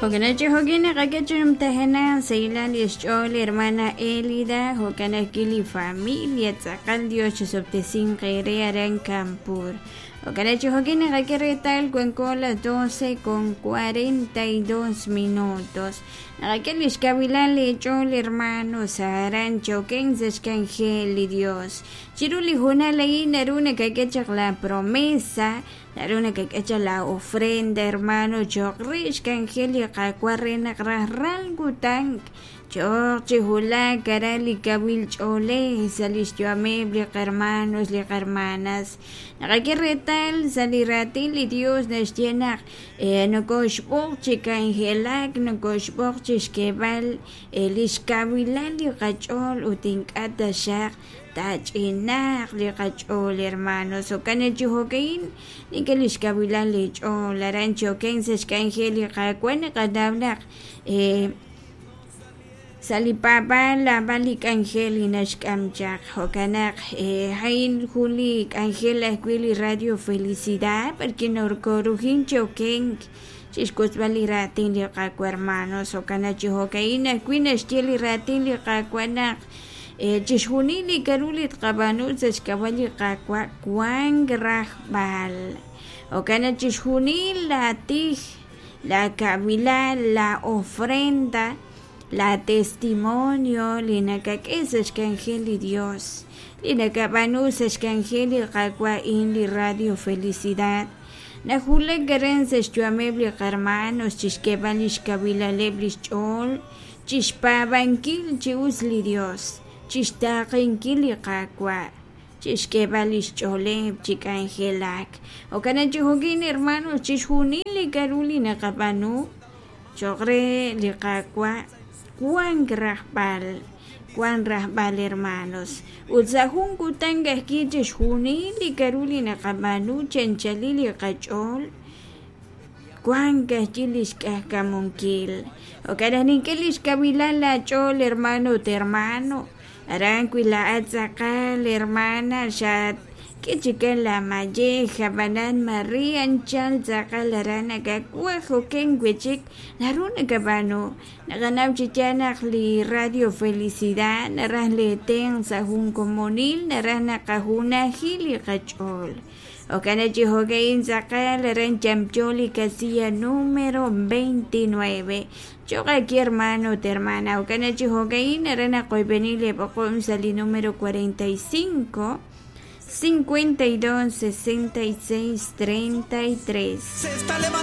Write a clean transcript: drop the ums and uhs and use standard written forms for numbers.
Jo'kan chi jo'kin naqak'e chi numtajenaq sahilal li xch'ool li hermana Elida, jo'kan ajwi' li familia tz'aqal Dios chisob'tesinq eere aran Kanpur. Jo'kan chi jo'kin naqak'e reetal wanko las 12:42 minutos. Naqak'e lix kawilal eech'ool hermanos aran choken sa' xk'anjel li Dios. Chiru li hoonal a'in naru nakak'e chaq la promesa, naru nakak'e chaq la ofrenda hermano cho'q re xk'anjel li Qaawa' re naq rajlal kutan cho'q chi wulak aran li kawil ch'oolej sa' lix yu'ameb' li qahermanos li qahermanas. Naqak'e reetal sa' li raatin li Dios naxye naq nokoxb'oq chi k'anjelak, nokoxb'oq chi xk'eeb'al lix kawilal li qach'ool ut ink'a' taxaq taach'inaaq li qach'ool hermanos. Jo'kan chi jo'ka'in nink'e lix kawilal li ch'ool aran choken sa' xk'anjel li Qaawa' naqanaw naq sa' li paab'aal naab'al li k'anjel li naxk'am chaq. Jo'kan naq a'in jun li k'anjel ajwi' li Radio Felicidad b'arwi' nokorujin chi okenk chixwotzb'al li raatin li Qaawa' hermanos. Jo'kan naq chi jo'ka'in ajwi' naxye li raatin li Qaawa' naq chixjunil li k'aru li tqab'aanu sa' xk'ab'a' li Qaawa' wank rajb'al. Jo'kan naq chixjunil laatij, laakawilal, la ofrenda, la testimonio li nakak'e sa' xk'anjel li Dios, li nakab'aanu sa' xk'anjel li Qaawa' a'in li Radio Felicidad, nawulak aran sa' xyu'ameb' li qahermanos chixk'eeb'al lix kawilaleb' lix ch'ool, chixpaab'ankil chi us li Dios, chixtaaqenkil li Qaawa', chixk'eeb'al lix ch'ooleb' chi k'anjelak. Jo'kan naq chi jo'kin hermanos, chixjunil li k'aru li naqab'aanu cho'q re li Qaawa' wank rajb'al, wank rajb'al hermanos. Ut sa' jun kutan ajwi' chixjunil li k'aru li naqab'aanu chi anchalil li qach'ool wank ajwi' lix k'ajkamunkil. Jo'kan naq nink'e lix kawilal laach'ool hermano ut hermano, aran wi laa'at tz'aqal hermana xatk'e chikan la mayej, ab'anan mare anchal tz'aqal aran nakawaj oken wi' chik naru nakab'aanu. Naqanaw chi yaal naq li Radio Felicidad naraj leetenq' sa' jun komonil, naraj naqajunaji li qach'ool. Jo'kan naq chi jo'ka'in tz'aqal aran yamyo li casilla número 29. Cho'q aki hermano ut hermana. Jo'kan naq chi jo'ka'in aran naqoyb'eni leeb'oqom sa' li número 45 52 66 33. Se está levantando.